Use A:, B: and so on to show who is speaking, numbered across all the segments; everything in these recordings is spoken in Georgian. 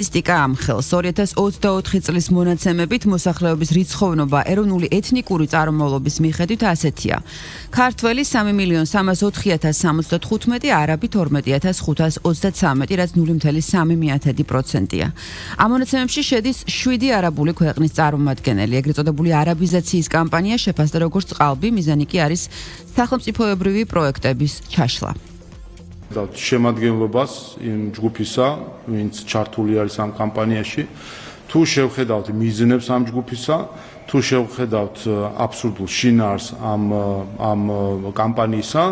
A: სტატისტიკა ამხელს 2024 წლის მონაცემებით მოსახლეობის რიცხოვნობა ეროვნული ეთნიკური წარმომავლობის მიხედვით ასეთია. ქართველი 3.304.075, არაბი 12.533, რაც 0.3%-ია. ამ მონაცემებში შედის 7 არაბული ქვეყნის წარმომადგენელი. ეგრეთ წოდებული არაბიზაციის კამპანია შეფასდა როგორც წყალბი, მიზანი კი არის სახელმწიფოებრივი პროექტების ჩაშლა.
B: შემადგენლობას იმ ჯგუფისა, ვინც ჩართული არის ამ კამპანიაში, თუ შევხედავთ მიზნებს ამ ჯგუფისა, თუ შევხედავთ აბსურდულ შინაარს ამ კამპანიისა,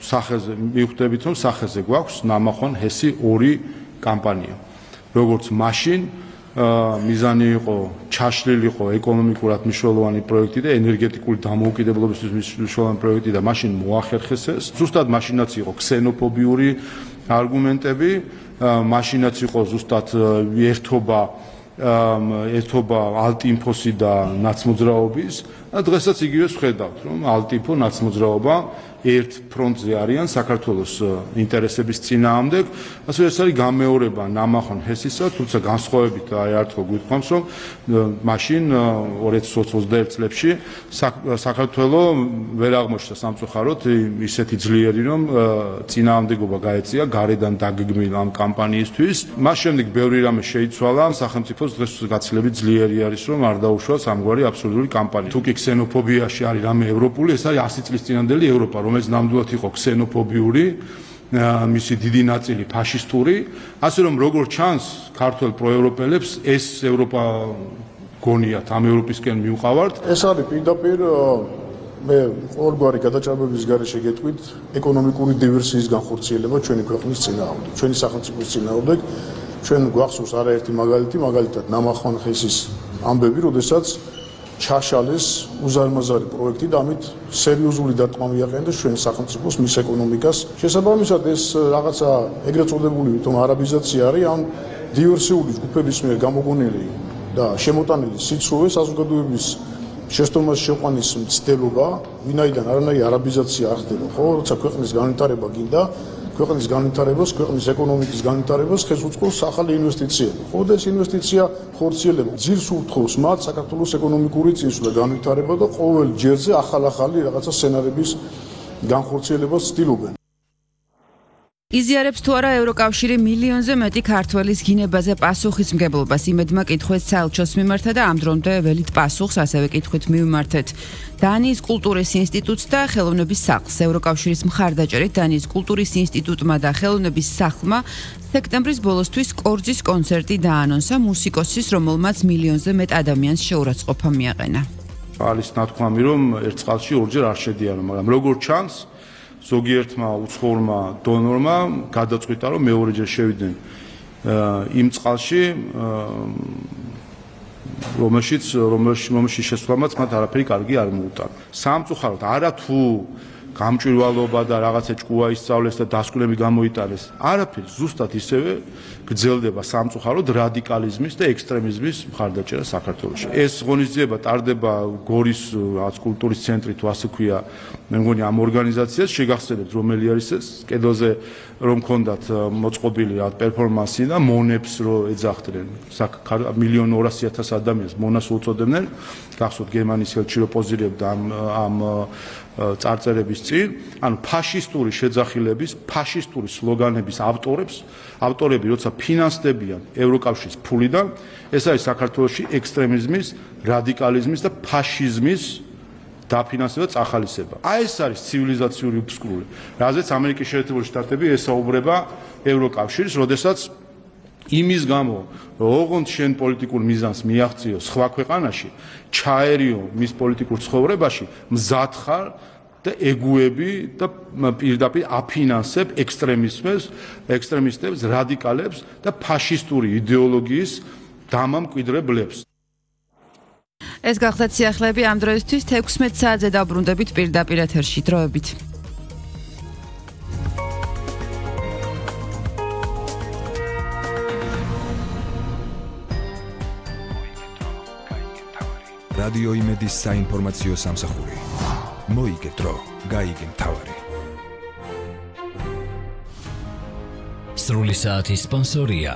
B: სახეზე მივხვდებით, რომ სახეზე გვაქვს ნამახვან ჰესი 2 კამპანია. როგორც მაშინ მიზანი იყო ჩაშლილიყო ეკონომიკურად მნიშვნელოვანი პროექტი და ენერგეტიკული დამოუკიდებლობისთვის მნიშვნელოვანი პროექტი და მაშინ მოახერხეს ეს. ზუსტად მაშინაც იყო ქსენოფობიური არგუმენტები, მაშინაც იყო ზუსტად ერთობა ალტინფოსი და ნაცმოძრაობის და დღესაც იგივეს ვხედავთ, რომ ალტინფო ნაცმოძრაობა ერთ ფრონტზე არიან საქართველოს ინტერესების წინააღმდეგ, ასე ეს არის გამეორება ნამახვან ჰესისა, თუმცა განსხვავებით აერთო გვიყვამს, რომ მაშინ 2021 წლებში საქართველო ვერ აღმოჩნდა სამწუხაროდ ისეთი ძლიერი, რომ წინააღმდეგობა გაეწია გარედან დაგეგმილ ამ კამპანიისთვის. მას შემდეგ ბევრი რამე შეიცვალა, სახელმწიფოს დღეს გაცილებით ძლიერი არის, რომ არ დაუშვას ამგვარი აბსურდული კამპანია. თუ კი ქსენოფობიაში არის რამე ევროპული, ეს არის 100 წლის წინანდელი ევროპა, რომელიც ნამდვილად იყო ქსენოფობიური, მისი დიდი ნაწილი ფაშისტური, ასე რომ როგორ ჩანს ქართველ პროევროპელებს ეს ევროპა გონიათ, ამ ევროპისკენ მივყავართ.
C: ეს არის პირდაპირ მე ყოველგვარი გადაჭარბების გარეშე გეტყვით ეკონომიკური დივერსიის განხორციელება ჩვენი ქვეყნის წინააღმდეგ, ჩვენი სახელმწიფოს წინააღმდეგ. ჩვენ გვახსოვს არაერთი მაგალითი, მაგალითად ნამახვან ჰესის ამბები, როდესაც ჩაშალეს უზარმაზარი პროექტი და ამით სერიოზული დარტყმა მიაყენეს ჩვენ სახელმწიფოს მის ეკონომიკას. შესაბამისად ეს რაღაცა ეგრეთ წოდებული თვითონ არაბიზაცია არის ამ დივერსიული ჯგუფების მიერ გამოგონილი და შემოტანილი სიცრუე საზოგადოების შეცდომას შეყვანის მცდელობა, ვინაიდან არანაირი არაბიზაცია არ ხდება, ხო, როცა ქვეყნის განვითარება გინდა, ქვეყნის განვითარებას, ქვეყნის ეკონომიკის განვითარებას ხელს უწყობს ახალი ინვესტიციები. ხო, და ეს ინვესტიცია ხორციელება ძირს ურთხოვს მათ საქართველოს ეკონომიკური წინსვლა და განვითარება და ყოველ ჯერზე ახალ-ახალი რაღაცა სცენარების განხორციელებას ცდილობენ.
A: იზიარებს თუ არა ევროკავშირი მილიონზე მეტი ქართველის გინებაზე პასუხისმგებლობას იმედმა კითხვით საელჩოს მიმართა და ამ დრომდე ველით პასუხს ასევე კითხვით მივმართეთ დანიის კულტურის ინსტიტუტს და ხელოვნების სახლს. ევროკავშირის მხარდაჭერით დანიის კულტურის ინსტიტუტმა და ხელოვნების სახლმა სექტემბრის ბოლოსთვის კორძის კონცერტი დაანონსა მუსიკოსის, რომელმაც მილიონზე მეტ ადამიანს შეურაცხყოფა მიაყენა.
B: არის ნათქვამი, რომ ერთ წყალში ორჯერ არ შედიანო, მაგრამ როგორ ჩანს ზოგიერთმა უცხოურმა დონორმა გადაწყვიტა, რომ მეორეჯერ შევიდნენ იმ წყალში, რომელშიც შესვლამაც მათ არაფერი კარგი არ მოუტანა. სამწუხაროდ არა თუ გამჭვირვალობა და რაღაცა ჭკუა ისწავლეს და დასკვნები გამოიტანეს. არაფერი, ზუსტად ისევე გრძელდება სამწუხაროდ რადიკალიზმის და ექსტრემიზმის მხარდაჭერა საქართველოში. ეს ღონისძიება ტარდება გორის კულტურის ცენტრი თუ ასე ქვია, მე მგონი ამ ორგანიზაციას შეგახსენებთ რომელი არის ეს, კედელზე რომ ქონდათ მოწყობილი პერფორმანსი და მონებს რო ეძახდნენ 1,200,000 ადამიანს მონას უწოდებდნენ, გახსოვთ გერმანიის ელჩი რო პოზირებდა ამ წარწერების წინ, ანუ ფაშისტური შეძახილების, ფაშისტური სლოგანების ავტორები როცა ფინანსდებიან ევროკავშირის ფულიდან, ეს არის საქართველოში ექსტრემიზმის, რადიკალიზმის და ფაშიზმის დაფინანსება და წახალისება. ეს არის ცივილიზაციური უფსკრული, რაზეც ამერიკის შეერთებული შტატები ესაუბრება ევროკავშირს, როდესაც იმის გამო, რომ ოღონდ შენ პოლიტიკურ მიზანს მიაღწიო სხვა ქვეყანაში, ჩაერიო მის პოლიტიკურ ცხოვრებაში, მზად ხარ და ეგუები და პირდაპირ აფინანსებ ექსტრემისტებს, რადიკალებს და ფაშისტური იდეოლოგიის დამამკვიდრებლებს.
A: ეს გახლდათ სიახლეები ამ დროისთვის 16 საათზე დაბრუნდებით პირდაპირ ეთერში დროებით.
D: რადიო იმედის საინფორმაციო სამსახური. მოიგე დრო, გაიგე მთავარი.
E: სრული საათის სპონსორია